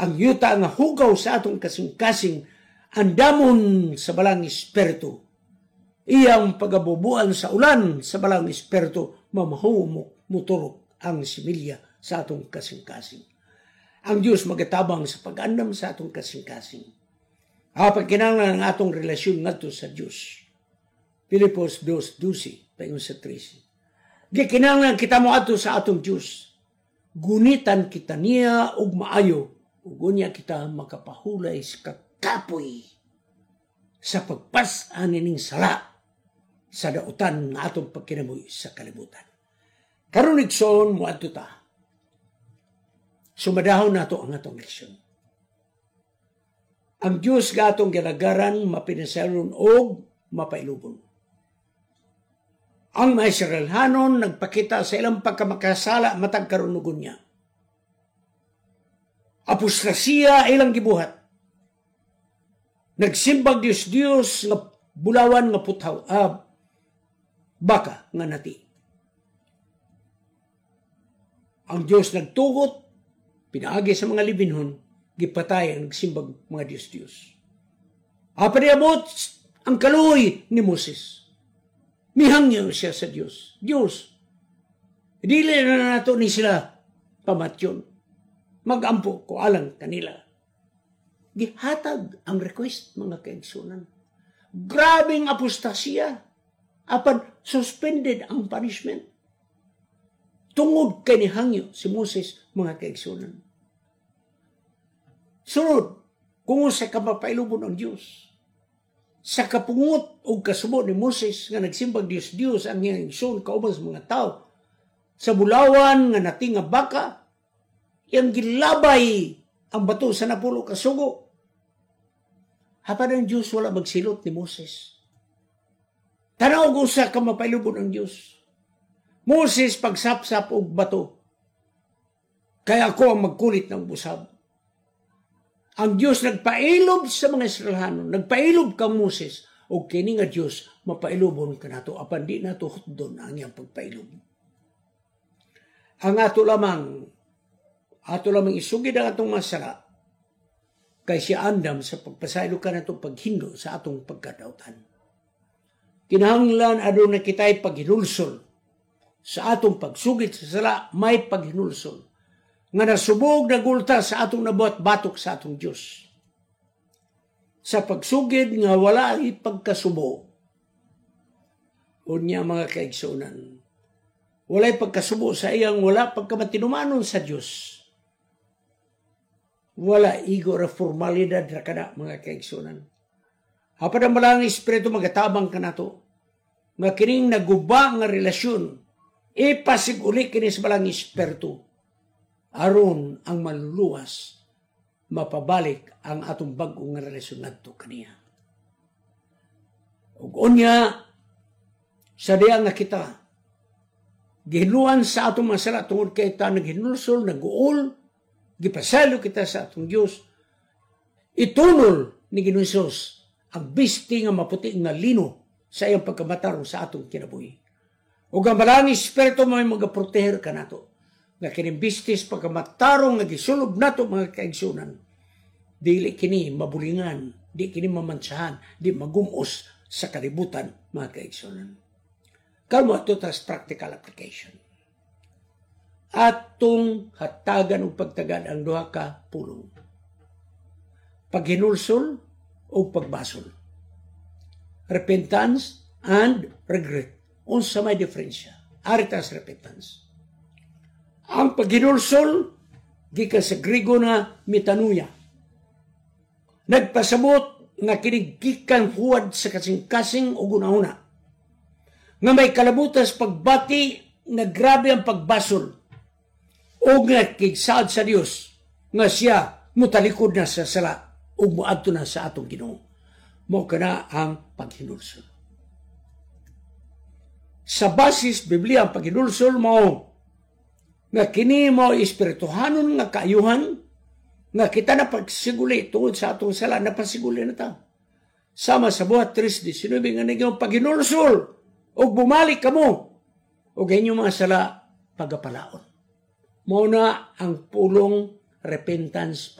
Ang yuta nga hugaw sa atong kasing-kasing andamon sa Balaang Espiritu. Iyang pagabubuan sa ulan sa Balaang Espiritu, mamahumok, muturok ang similya sa atong kasing-kasing. Ang Diyos magatabang sa pag-andam sa atong kasing-kasing. Apan kinahanglan ang atong relasyon ngadto sa Diyos. Filipos 2:12 paingon sa 13. Gikinahanglan kita moadto sa atong Diyos. Gunitan kita niya og maayo ug unya kita makapahulay sa kakapoy sa pagpas-an ning sala sa dautan nga atong pagkinabuhi sa kalibutan. Karon, igsoon, moadto ta. Sumadahon nato ang atong leksyon. Ang Diyos nga atong gilagaran mapinasaylon og mapailubon. Ang mga Israelhanon nagpakita sa ilang pagkamakasala matag karunugon niya. Apostasya ilang gibuhat. Nagsimbag Diyos Diyos nga bulawan nga puthaw, baka nga nati. Ang Diyos nagtugot, pinaagi sa mga Lebinhon, gipatay ang nagsimbag mga Diyos Diyos. Apan niabot ang kaluoy ni Moses. Mihangyo siya sa Diyos. "Diyos, dili na nato ni sila pamatyon. Magampo ko alang kanila." Gihatag ang request, mga kaigsunan. Grabing apostasya. Apan suspended ang punishment. Tungod kay nihangyo si Moses, mga kaigsunan. Sunod, kung sa kapapailubon ang Diyos. Sa kapungot o kasubo ni Moses nga nagsimbag Diyos Diyos ang iyang igsoon kauban sa mga tao sa bulawan nga nati nga baka, iyang gilabay ang bato sa 10 ka sugo. Apan ang Diyos wala magsilot ni Moses. Tanaw ko sa kamapailubon ang Diyos. "Moses, pagsapsap og bato. Kaya ako ang magkulit ng busab." Ang Diyos nagpailob sa mga Israelhanon, nagpailob kang Moses, o kini nga Diyos mapailobon kanato apan di nato hutdon ang iyang pagpailob. Ang ato lamang isugid ang atong masala kay siya andam sa pagpasaylo kanato paghindo sa atong pagkadautan. Kinahanglan aduna kita'y paghinulsol sa atong pagsugid sa sala, may paghinulsol nga nasubog nagulta sa atong nabuhat batok sa atong Dios. Sa pagsugid nga wala pagkasubo, unya, mga kaigsunan, walay pagkasubo sa iyang wala pagkamatinumanon sa Dios. Wala, igo ra, formalidad ra kana, mga kaigsunan. Apan ang Balaang Espiritu magatabang kanato nga kining naguba nga relasyon ipasiguli kini sa Balaang Espiritu aron ang maluluwas mapabalik ang atong bag-o nga relasyon ngadto kaniya. Ug unya sa diya nga kita gihinluan sa atong mga sala tungod kay ta naghinulsol, naguol, gipasaylo kita sa atong Dios, itunol ni Ginoong Hesus ang bisti nga maputi nga lino sa iyang pagkamatarong sa atong kinabuhi. Ug ang Balaang Espiritu mo magaproteher kanato nga kining bistis pagkamatarong nga gisulob nato, mga kaigsunan, dili kini mabulingan, di kini mamantsahan, di magumos sa kalibutan, mga kaigsunan. Karon ato tas practical application. Atong hatagan og pagtagad ang duha ka pulong: paghinulsol o pagbasol. Repentance and regret. Unsa may diferensya? Ari ta sa repentance. Ang paghinulsol gikan sa Grigo na metanoia. Nagpasabot nga kini gikan huwad sa kasing-kasing o gunahuna nga may kalabutas pagbati nga grabe ang pagbasol o nga kigsaad sa Dios nga siya mutalikod na sa sala ug moadto na sa atong Ginoo. Mao kana ang paghinulsol. Sa basis Biblia, ang paghinulsol mao nga kini mao espirituhanon nga kaayuhan nga kita na pagsiguli tungod sa atong sala, napasiguli na ta. Sama sa Buhat 3:19 nga naging paghinulsol ug bumalik kamo ug inyong mga sala pagapalaon. Mao na ang pulong repentance.